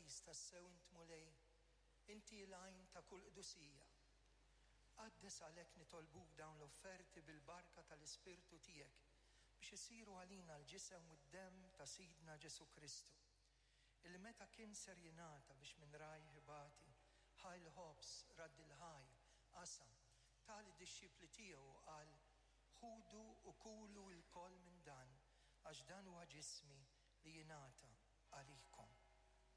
Qaddis tassew int Mulej, inti l-għajn ta' kull qdusija. Qaddes għalhekk nitolbuk dawn l-offerti bil-barka tal-Ispirtu tiegħek biex isiru għalina l-ġisem u d-demm ta' Sidna Ġesù Kristu, illi meta kien ser jingħata biex minn rajh ibati, ħa l-ħobż, radd il-ħajr, qasam, ta lid-dixxipli tiegħu u qal, Ħudu u kulu lkoll minn dan, għax dan huwa ġismi li jingħata għalikom.